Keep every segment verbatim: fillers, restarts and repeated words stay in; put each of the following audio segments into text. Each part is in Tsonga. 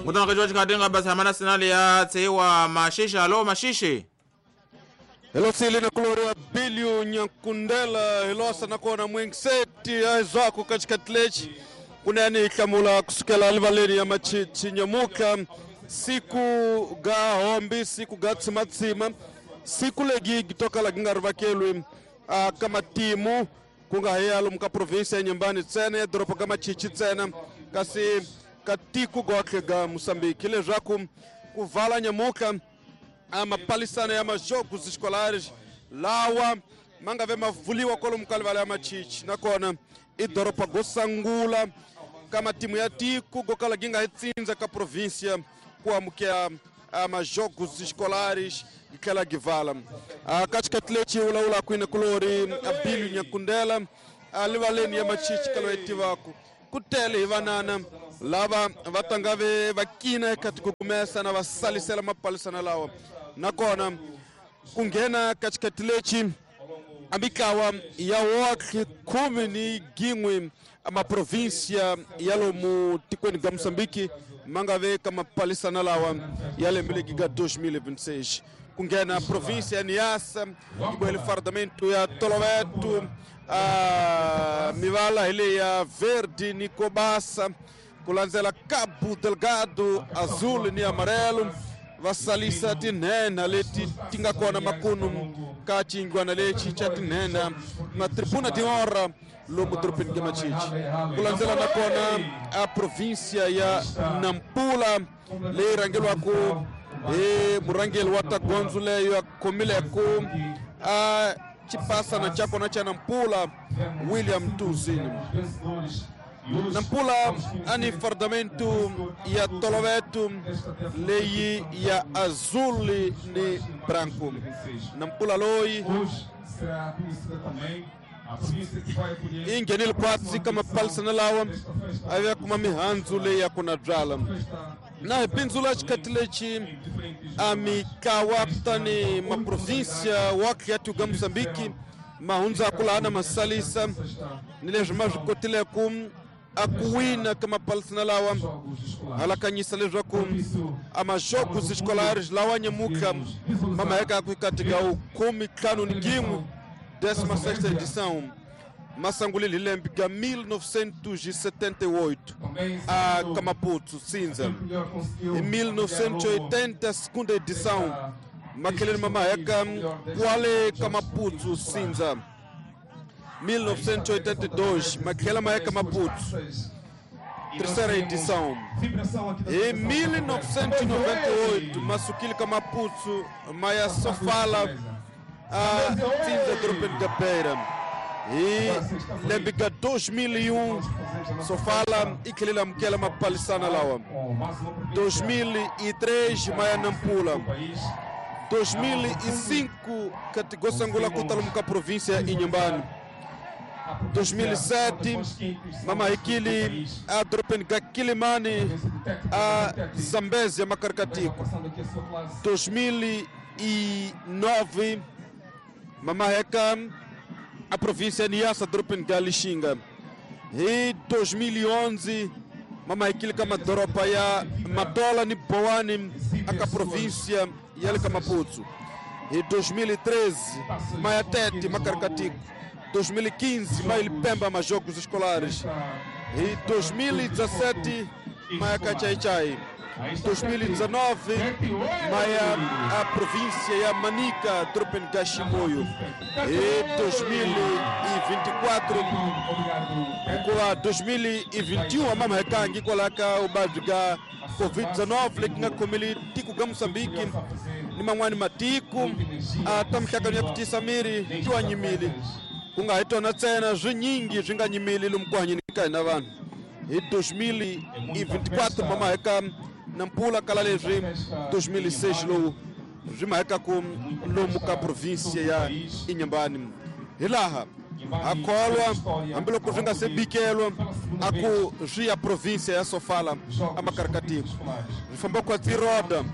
Ngutana ka George Kadenga basi hamana sinali ya tsewa Mashishi. Alo Mashishi. Hello sili na kulori Bilio Nyankundela hilosa na kona mwingseti aizwako katika tlechi kunani ikamula kusukela livaleni ya machichi nyamuka siku ga hombi siku ga tsimatsima siku legi gitoka la gingarvakelwe kama timu kunga heyalo muka provinsia ya Nyambani tsena ya doropo ga machichi tsena kasi katiku goke ga Moçambique leswaku kuvala nyamuka amapalisana ya majogos escolares lawa mangave mavuliwa kwalomu ka livala ya machichi nakona i doropa gosangula kama timu ya tiku gokala ginga hitsinza ka província kuamukela amajogos escolares gitlhela givala katika tleci ulaula kwina kulori Abilio Nyankundela livaleni ya machichi kalo etivaku kutele hi vanana lava va tangave va kina eka tikukumesa na va salisela mapalisana lawa nakona ku nghena ka xikati lexi a mitlawa ya wotlhe khume ni gin'we maprovinsia ya lomu tikweni ga Moçambique ma nga ve ka mapalisana lawa ya lembe legi ga dois mil e vinte e seis ku nghena província ya Niassa yi fardamento ya Toloveto a mivala hi leyi ya verde ni kobasa ku landzela Cabo Delgado azul ni amarelo va salisa tinhenha leti ti nga kona makunu ka xiyingwana lexi xa tinhenha na tribuna de honra lomu dorobeni ka Machichi ku landzela nakona a província ya Nampula leyi rhangeliwaku hi murhangeri wa ta gondzo leyo a khomileku a xipasana xa kona xa Nampula William Tuzini. Nampula ani fardamento ya Toloveto leyi ya azul ni branco. Nampula loyi i nghenile kwatsi ka mapalisana lawa a va kuma mihandzu leyi ya ku na byala na hi bindzula xikati lexi a mitlawa kutani maprovinsia wa ya ga Moçambique ma hundzaku laha na masalisa ni leswi ma swi kotileku a ku wina ka mapalisana lawa halakanyisa leswaku a majogos escolares lawa nyamuka ma mahekaku katika khume ntlhanu ni gin'we décima sexta edição masangulile hi lembe ga mil novecentos e setenta e oito a Kamaputu cinza em mil novecentos e oitenta segunda edição makeleni mamaheka kwale Kamaputu cinza mil novecentos e oitenta e dois makhela maheka Maputo terceira edição em mil novecentos e noventa e oito masukile Kamaputu maya sofala a cinza dorobeni ga Beira e lembe ga dois mil e um sofala i tlhela amukela mapalisana lawa dois mil e três maya Nampula dois mil e cinco katigosangula kutalomu ka província Inhambane dois mil e sete mamahikili a dorobeni ga Quilimane a Zambézia Macarcatico dois mil e nove mamaheka a província Niassa dorobeni ga Lixinga e dois mil e onze mamahikili ka madoropa ya Matola ni Boane aka província ya le ka Maputo e dois mil e treze Maiatete Macarcatico dois mil e quinze Mailipemba majogos escolares e dois mil e dezessete Maiacachaichai dois mil e dezenove Maia a província ya Manica dorobeni ga Chimoio e dois mil e vinte e quatro hikuva dois mil e vinte e um a mamahekangi kwalaha ka vuvabyi ga covid dezenove leti nga khomeli tiko ga Moçambique ni man'wani matiko a ta mihlangano ya ku tiyisa miri ti wa nyimile ku nga hi tona ntsena swinyingi swi nga nyimili lomu ku hanyeni ka hina vanhu hi dois mil e vinte e quatro mamaheka Nampula kala leswi dois mil e seis lowu swi mahekaku lomu ka província ya Inhambane hi laha ha kholwa hambiloko swi nga se bikelwa a ku swi ya província ya Sofala a Macaracatico swi famba kwa tiroda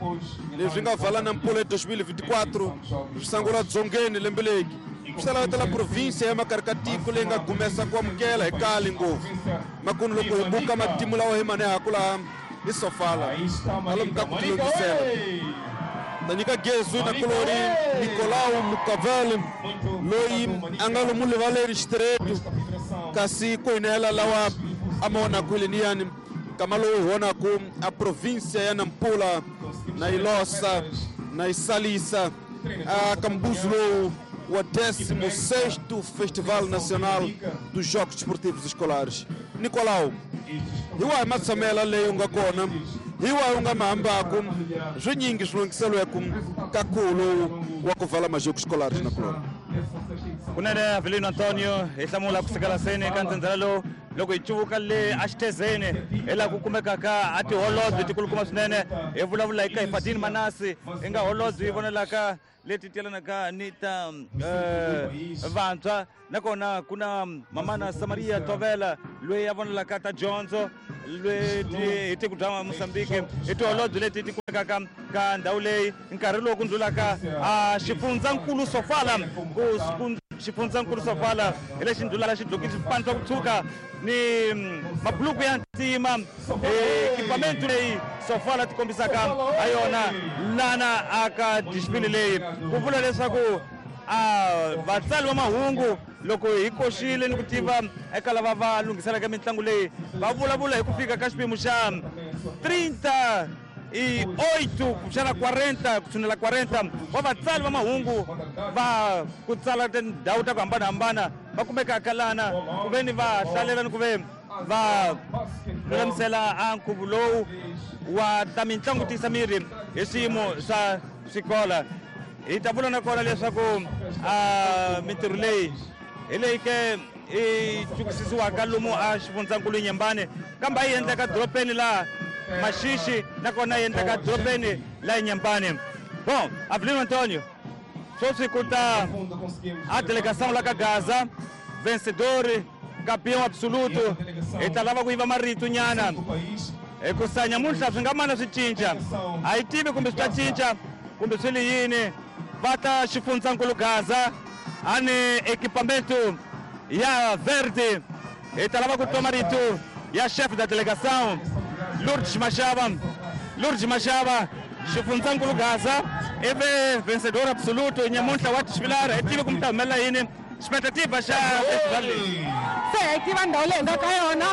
leswi nga vala Nampula hi dois mil e vinte e quatro swi sangula dzongeni lembe legi swi ta lavetela província ya Macaracatico leyi nga gumesa ku amukela hi kali ngopfu makunu loko hi buka matimu lawa hi manehaku laha I Sofala alomu ka ku tilungisela ta nyika gezu na kulori Nicolau Mukavel loyi a nga lomu rivaleri xitiretu kasi ku hinela lawa a ma vonaku hi leniyani nkama lowu hi vonaku a província ya Nampula na yi losa na yi salisa a ka mbuzu lowu wa décimo sexto Festival Nacional dos Jogos Desportivos Escolares. Nicolau, hi wahi matshamela leyi u nga kona, hi wahi u nga mahambaku swinyingi swi lunghiselweku ka khuvo lowu wa ku vala majoko escolares na kulona. Kunene Avelino Antonio hi hlamula ku sukela seni ka ndzhendzela lowu loko hi cuvuka le axitezeni hi laha ku kumekaka a tiholobye tikulukumba swinene hi vulavula hi ka hi Fadini Manasi hi nga holobye yi vonelaka leti tyelanaka ni ta vantshwa nakona ku na mamana Samaria Tovela loyi a vonelaka ta dyondzo leti hi tiko bya Mozambique hi tiholobye leti ti kumekaka ka ndhawu leyi nkarhi lowu ku ndlulaka a xifundzankulu Sofala ku xifundzankulu Sofala hi lexi ndlulaka xidlokile xipano swa ku tshuka ni mabuluku ya ntima ekipamento leyi Sofala ti kombisaka ha yona lana aka disipili leyi ku vula leswaku a vatsali va mahungu loko hi koxile ni ku tiva eka lava va lunghiselaka mitlangu leyi va vulavula hi ku fika ka xiphemu xa trinta e oito kumbexana quarenta ku tshunela quarenta wa vatsali va mahungu va ku tsala tindhawu ta ku hambanahambana va kumekaka lana ku ve ni va hlalela ni ku ve va lulamisela a nkhuvo lowu wa ta mitlangu tiyisa miri hi swiyimo swa swikola. Hi ta vula nakona leswaku a mintirho leyi hi leyi ke i cukisisiwaka lomu a xifundzankulu Nyembane kambe a yi endleka dorobeni laha Maxixi nakona yi endleka dorobeni la Nyembane. Bon, Avelino Antonio, sweswi ku ta a delegação la ka Gaza, vencedor, campeão absoluto, hi ta lava ku yiva marito nyana hikusa nyamuntlha swi nga mana swi cinca a yi tivi kumbe swi ta cinca kumbe swi li yini. Va ta xifundzankulu Gaza a ni equipamento ya verde hi ta lava ku twa marito ya chef da delegação Lourdes Machava. Lourdes Machava, xifundzankulu Gaza ivi vencedor absoluto nyamuntlha wa tisvilara hi tivi kumbe ta humelela yini expectativa xa festival leyi. Se hi tiva ndhawu leyi hi nga ka yona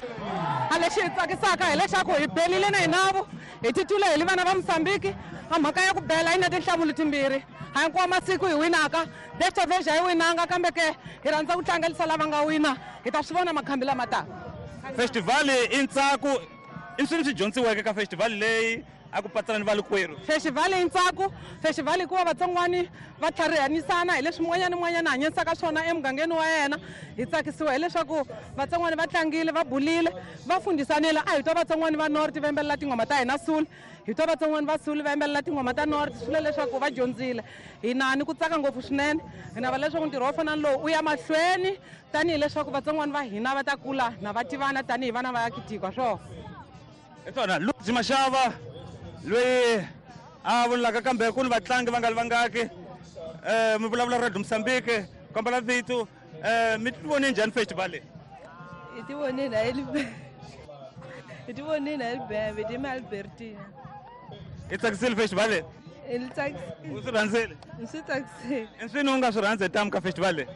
a lexi hi tsakisaka hileswaku hi belile na hinavo hi titwile hi li vana va Mozambique a mhaka ya ku bela yi na tinhlamulo timbirhi a hinkwawo masiku hi winaka desta vez a yi winanga kambe ke hi rhandza ku tlangelisa lava nga wina hi ta swi vona makhambi lama taka. Festival i ntsako i swilo swi dyondziweke ka festival leyi a ku patsana ni valukwerhu. Festival i ntsako, festival i ku va vatsongwani va tlharihanisana hi leswi mun'wanyana ni mun'wanyana a hanyisaka swona emugangeni wa yena. Hi tsakisiwa hileswaku vatsongwani va tlangile va bulile va fundisanile a hi twa vatsongwani va North va yimbelela tinghoma ta hina Sulu hi twa vatsongwani va Sulu va yimbelela tinghoma ta North swi vula leswaku va dyondzile. Hi na ni ku tsaka ngopfu swinene hi navela leswaku ntirho wo fana na lowu u ya mahlweni tanihileswaku vatsongwani va hina va ta kula na va tivana tanihi vana va Kitikwa swona. Hi swona Lourdes Machava loyi a vulaka kambe ku ni vatlangi va nga li vangaki um mi vulavula Radio Mozambique kombela vito um mi ti vone njhani festival leyi? Hi ti vonile hi hi ti vonile hi libembe ti Albertina. I tsakisile festival leyi? Hi tsakisile. U swi rhandzile? Ni swi tsakisile. I swini u nga swi rhandza hi tamu ka festival leyi?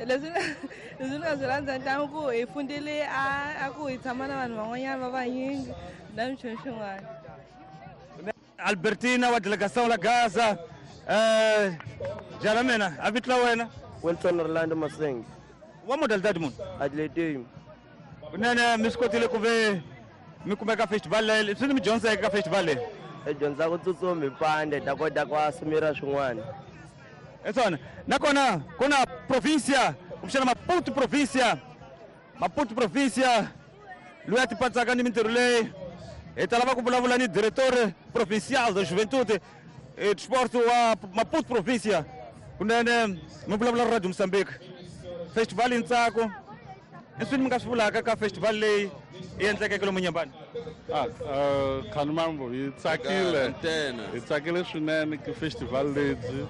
Leswi leswi ni nga swi rhandza ntamu ku hi fundile a a ku hi tshama na vanhu van'wanyana va vanyingi na minchumu xin'wana. Albertina wa delegação la Gaza eh jala mina a vito la wena? Wilson Orlando Maseng. Wa modalidade munhu? Atletism. Kunene mi swi kotile ku ve mi kumeka festival leyi swi ni mi dyondzeke ka festival leyi? Hi dyondza ku tsutsuma hi pande ta kota ku asumira swin'wana. Hi swona nakona ku na província kumbexana Maputo província Maputo província loyi a ti patsaka ni mintirho leyi hi ta lava ku vulavula ni diretor provincial da juventude e desporto wa Maputo província kunene mi vulavula Radio Mozambique. Festival i ntsako i swini mi nga swi vulaka ka festival leyi yi endlekeke lomu Nyembane? Ah, Khanumambo hi tsakile hi tsakile swinene ka festival lebyi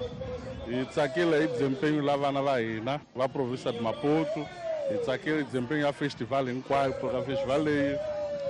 hi tsakile hi desempenho la vana va hina va província de Maputo hi tsakile desempenho ya festival hinkwayo ka festival leyi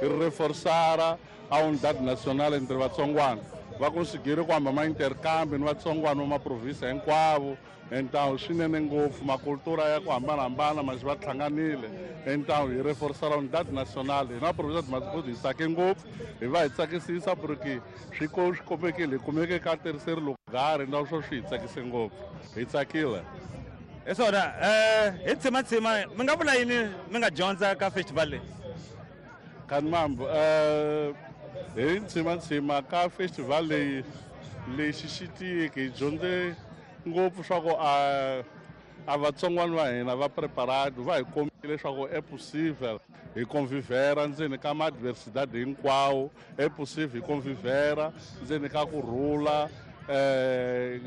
Hi reforçar a unidade nacional entre vatsongwana. Va conseguir ku hamba ma intercambio ni vatsongwana va maprovinsia hinkwavo. Então swinene ngopfu makultura ya ku hambanahambana mas va hlanganile. Então hi reforçar a unidade nacional. Hi na província de Maputo hi tsake ngopfu, hi va hi tsakisisa porque swi ko swi komekile hi kumeke ka terceiro lugar, então swo swi hi tsakise ngopfu. Hi tsakile. Hi swona eh hi tshimatsima mi nga vula yini mi nga dyondza ka festival leyi? Kanimambo eh hi tshimatsima ka festival leyi lexi xi tiyeke hi dyondze ngopfu swa ku a a vatsongwana va hina va preparado va hi kombile leswaku é possível hi convivera ndzeni ka ma-adversidade hinkwawo, é possível hi convivera ndzeni ka ku rhula eh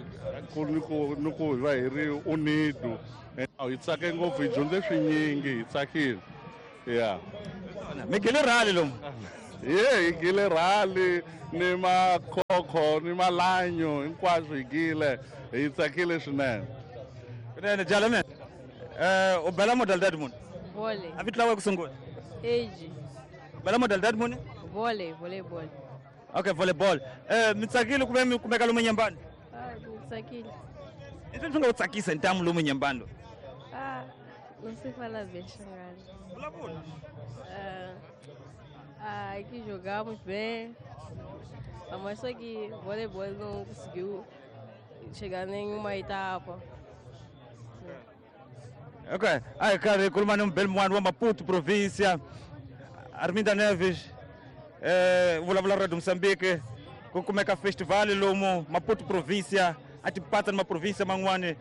ku ni ku ni ku hi va hi ri unido. Hi tsake ngopfu, hi dyondze swinyingi, hi tsakile. Yeah. Mi gile rhali lomu? Ye, hi gile rhali ni makhokho ni malanyo hinkwaswo hi gile, hi tsakile swinene. Kunene jala mina. Eh u bela modalidade muni? Vôlei. A vito la ku sungula? Age. U bela modalidade muni? Vôlei, volleyball. Okay, volleyball. Eh mi tsakile ku ve mi kumeka lomu Nyambani? Ah, mi tsakile. I swi nga ku tsakisa ntamu lomu Nyambani lo? Ah, não sei falar bem xangana. Vulavula. Ah, ah, que jogamos bem. Mas só que voleibol não conseguiu chegar em nenhuma etapa. Ok. Aí, cara, khuluma nombheli mun'wana wa Maputo província, Arminda Neves, eh, vulavula Radio Moçambique, ku kumeka festival lomu Maputo província, a tipatsa ni maprovinsia man'wani.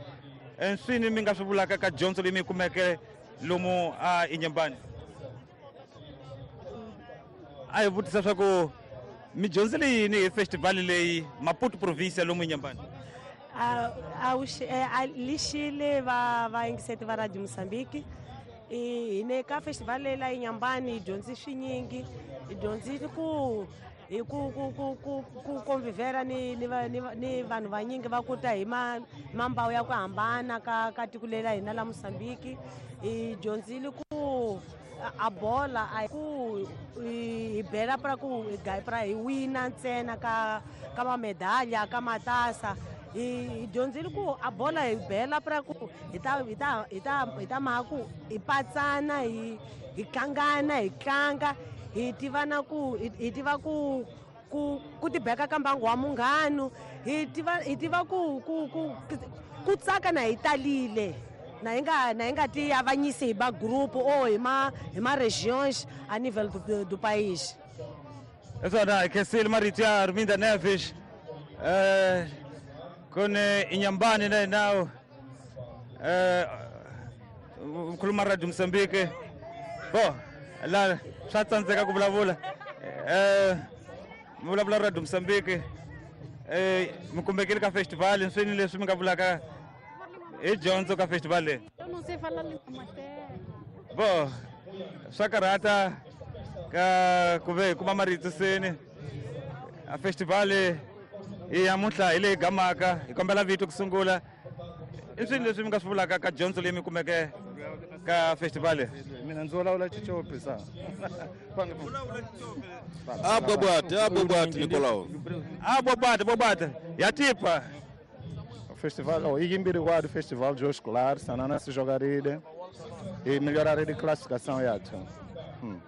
Nswini mi nga swi vulaka ka dyondzo leyi mi yi kumeke lomu a Inhambane? A hi vutisa swa ku mi dyondzile yini hi festival leyi Maputo província lomu Inhambane? Lixile va vayingiseti va Radio Moçambique. Hi ne ka festival leyi la Inhambane hi dyondzi swinyingi, hi dyondzile ku hi ku ku ku ku ku convivera ni ni ni vanhu vanyingi va ku ta hi ma mambawu ya ku hambana ka ka tiko leri la hina la Moçambique. Hi dyondzile ku a bola a ku hi bela pra ku hi pra hi wina ntsena ka ka mamedalha ka matasa. Hi dyondzile ku a bola hi bela pra ku hi ta hi ta hi ta hi ta mhaka ku hi patsana hi hi tlangana hi tlanga hi tiva na ku hi tiva ku ku ku tibeka ka mbangu wa munghano, hi tiva hi tiva ku ku ku ku tsaka na hi talile na hi nga na hi nga ti avanyisi hi ba group ou hi ma hi ma regions a nível do, do país. Esona hi khensile marito ya Arminda Neves. Eh kone Inhambane na nawo eh khuluma Radio Moçambique. Bo la swa tsandzeka ku vulavula. Eh mi vulavula Radio Moçambique. Eh mi kumbekile ka festival nswini leswi mi nga vulaka hi dyondzo ka festival leyi? Eu não sei falar língua materna. Bo swa karhata ka ku ve hi kuma marito seni. A festival i namuntlha hi leyi gamaka, hi kombela vito ku sungula. I swini leswi mi nga swi vulaka ka dyondzo leyi mi kumeke ka festival leyi? Mina ndzi vulavula Xicopi sa. A bobate, a bobate Nicolau. A bobate, bobate. Ya tipa. O festival, oh, Igimbiriguá do Festival de Escolar, Sanana se jogaria e melhorar a classificação ya. Hmm.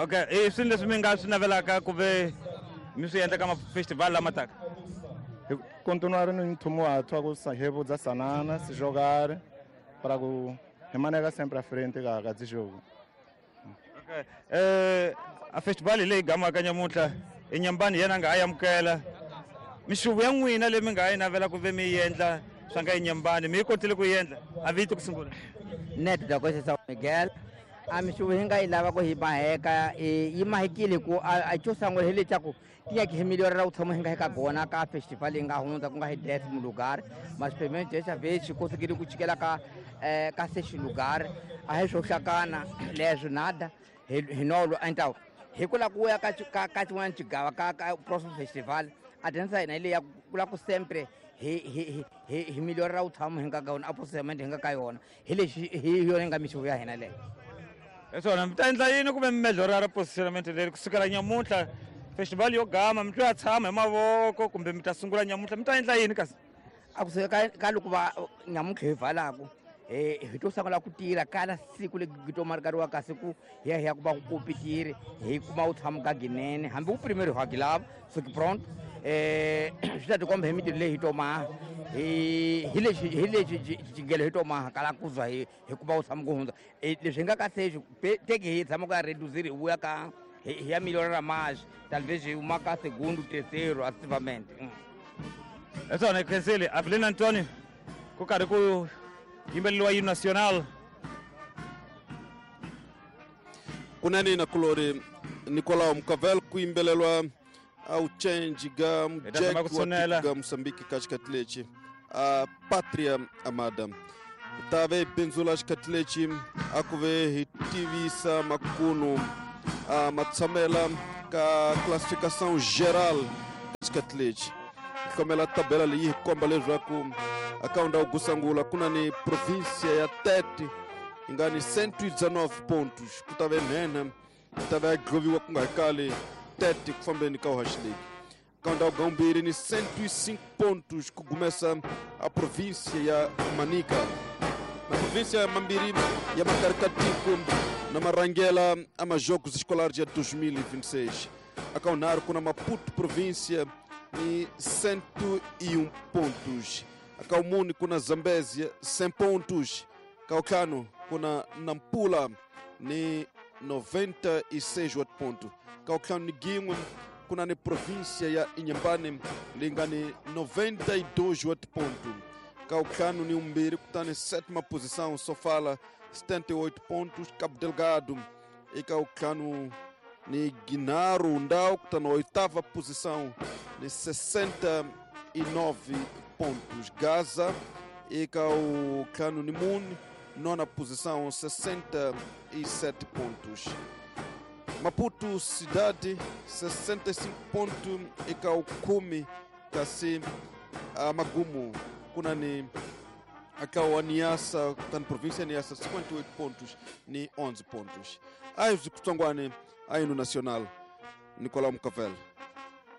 Okay, i swini leswi mi nga swi navelaka ku ve mi swi endla ka festival lama taka? Continuar no tumulto, ku revudza Sanana se jogar para ku remanega sempre à frente ka ka jogo. Okay. Eh a festival leyi gamaka nyamuntlha Inhambane yena nga amukela. Mixuvo ya n'wina leyi mi nga yi navela ku ve mi yi endla swa nga Inhambane mi yi kotile ku yi endla? A vito ku sungula. Neto da Costa São Miguel. A mixuvo hi nga yi lava ku hi maheka yi mahekile ku a xo sungula hi leswaku tinyaki hi melhorera ku tshama hi nga hi ka gona ka festival yi nga hundza ku nga hi décimo lugar, mas pelo menos dessa vez conseguiram ku chikela ka eh, ka sexto lugar. A hi swo hlakana leswo nada hi nolo. Então hi ku lava ku ya ka ka ka xin'wana xigava ka ka próximo festival a dança hina hi leyi ya ku lava ku sempre hi hi hi hi melhorera ku tshama hi nga ka yona a procedimento hi nga ka yona hi lexi hi yona yi nga mixuvo ya hina leyo. Swona mi ta endla yini kumbe mi melhorara positionament leri kusukela nyamuntlha festival yo gama mi twa tshama hi mavoko kumbe mi ta sungula nyamuntlha mi ta endla yini kasi a kusuka ka ka loko va nyamuntlha hi valaku eh hi to sungula ku tirha kala siku le gitomarikariwa kasi ku hi ya hi ya ku va ku kompitiri hi kuma wu tshama ka ginene hambi wu primero ha gilava suki pronto eh swi ta tikomba hi mitirho leyi hi tomaha hi hi lexi hi lexi xigelo hi tomaha kala ku za hi hi kuma wu tshama ku hundza leswi hi nga ka sexi teki hi tshama ku ya reduzir hi vuya ka hi ya melhorara mais talvez hi huma ka segundo terceiro ativamente. Esona khensile Avelino Antonio ku karhi ku yimbeleriwa hino nacional kunene na kulori Nicolau Mukavel ku yimbelelwa ao change ga Jack ga Moçambique kaxikati a pátria amada tave benzula xikati a ku ve hi tivisa makunu a matshamela ka classificação geral xikati komela tabela leyi hi komba leswaku akaunda wu gusangula kuna ni província ya Tete yi nga ni cento e dezenove pontos ku ta ve nhenha ku ta ve a gloviwa ku nga kali Tete ku fambeni ka uhaxileki akaunda wu gaumbiri ni cento e cinco pontos ku gumesa a província ya Manica na província mambiri ya Macaricatico na marangela a majogos escolares ya dois mil e vinte e seis akaunar kuna Maputo província ni cento e um pontos. Akaumuni kuna Zambésia cem pontos. Caucano kuna Nampula ni noventa e seis pontos. Caucano ni Guingue kuna ni província ya Inhambane linga ni noventa e dois pontos. Caucano ni Umbiri kutani sétima posição, Sofala setenta e oito pontos. Cabo Delgado e Caucano ni Guinaro Ndau que está na oitava posição ni sessenta e nove pontos. Gaza e Caucano Nimun nona posição sessenta e sete pontos. Maputo cidade sessenta e cinco pontos e Caucume kasi Magumo kunani akau Niassa tan província Niassa cinquenta e oito pontos ni onze pontos. Aí os Kutsongwane aí no Nacional Nicolau Mukavel.